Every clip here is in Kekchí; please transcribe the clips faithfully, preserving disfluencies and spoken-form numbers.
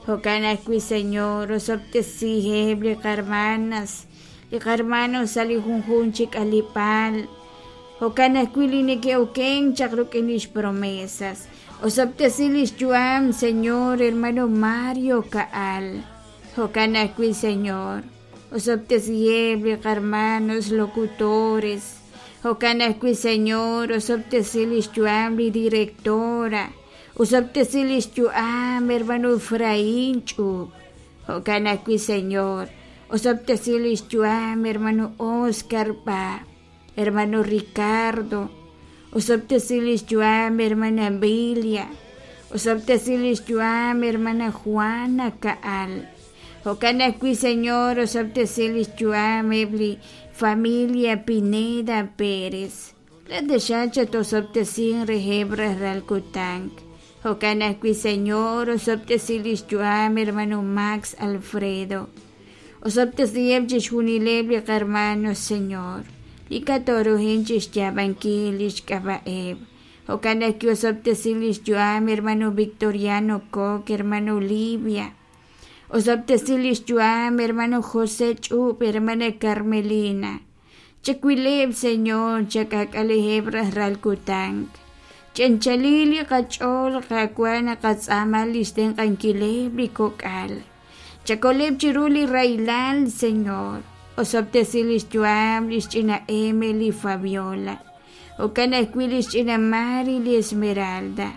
Jo'kan ajwi', Señor, osob'tesiheb' li qarmanas, li qarmanos sa' li junjunq chi k'aleb'aal. Jo'kan ajwi' li neke'okenk chaq rik'in lix promesas. Osob'tesi lix yu'am, Señor, hermano Mario Ka'al. Jo'kan ajwi', Señor, osob'tesiheb' li qarmanos locutores. Jo'kan ajwi', Señor, osob'tesi lix yu'am li directora. Osob'tesi lix yu'am, hermano Efraín Ch'ub. Jo'kan ajwi', Señor, osob'tesi lix yu'am, hermano Oscar Ba, hermano Ricardo. Osob'tesi lix yu'am, hermana Bilia. Osob'tesi lix yu'am, hermana Juana Ka'al. Jo'kan ajwi', Señor, osob'tesi lix yu'am eb' li familia Pineda Pérez. La taxaq chat-osob'tesin reheb' rajlal kutan. Jo'kan ajwi', Señor, osob'tesi lix yu'am, hermano Max Alfredo. Osob'tesiheb' chixjunileb' li qarmanos, Señor. Li katoruhin chixyaab'ankil lix k'ab'a'eb'. Jo'kan ajwi' osob'tesi lix yu'am, hermano Victoriano Koch, hermano Olivia. Osob'tesi lix yu'am, hermano José Ch'ub, hermana Carmelina. Chakwileb', Señor, chak'ak'aleheb' rajlal kutan. Ch'anchalil li qach'ool Qaawa' naqatz'aama lix tenq'ankileb' li kok'al. Chakoleb' chiru li rahilal, Señor. Osob'tesi lix yu'am lix ch'ina Emily Fabiola. Jo'kan ajwi' lix ch'ina Mari li Esmeralda.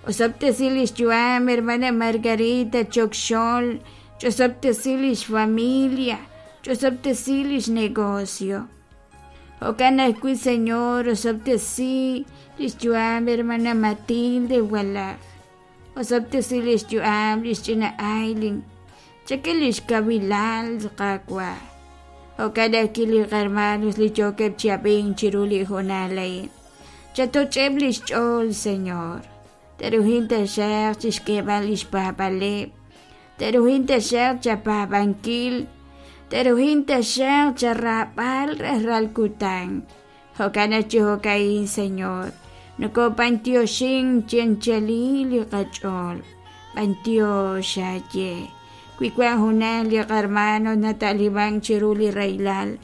Osob'tesi lix yu'am, hermana Margarita Chokxol. Ch'osob'tesi lix familia. Ch'osob'tesi lix negocio. Jo'kan ajwi', Señor, osob'tesi lix yu'am, hermana Matilde Walaj. Osob'tesi lix yu'am lix ch'ina Aileen. Chak'e lix kawilal Qaawa'. Jo'kan ajwi' li qarmanos li yookeb' chi ab'ink chiru li hoonal a'in. Chatoch'eb' lix ch'ool, Señor. Teruhin taxaq chixk'eeb'al lix paab'aleb'. Teruhin taxaq chapaab'ankil. Teruhin taxaq charaab'al rajlal kutan. Jo'kan aj chi jo'ka'in, Señor. Nokob'antioxin chianchalil li qach'ool. B'antiox aaye. Wi wan junaq li qarmano nata'libank chiru li rahilal.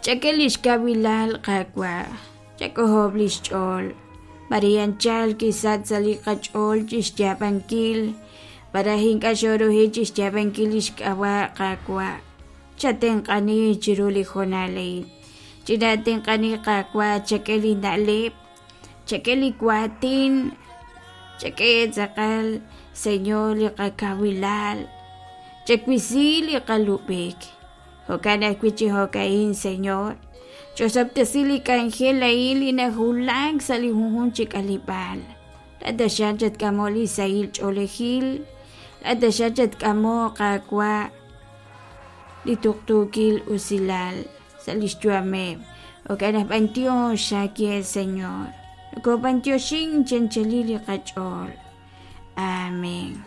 Chak'e lix kawilal Qaawa'. Chak'ojob' lix ch'ool. Maria anchal kisach sa' li qach'ool chixyaab'ankil. Para ink'a' xoruhi chixyaab'ankil lix k'ab'a' Qaawa'. Chatenq'ani chiru li hoonal a'in. Chinatenq'ani Qaawa' chak'e li na'leb'. Chak'e li waatin. Chak'e tz'aqal, Señor, li qakawilal. Chakwisi li qalub'ik. Jo'kan ajwi' chi jo'ka'in, Señor. Ch'osob'tesi li k'anjel a'in li najulak sa' li junjunq chi k'aleb'aal. La taxaq chatk'amo li sahil ch'oolejil. La taxaq chatk'amo Qaawa' li tuqtuukil usilal sa' lix yu'ameb'. Jo'kan aj b'antiox aaye, Señor. Nokob'antioxin chanchalil li qach'ool. Amén.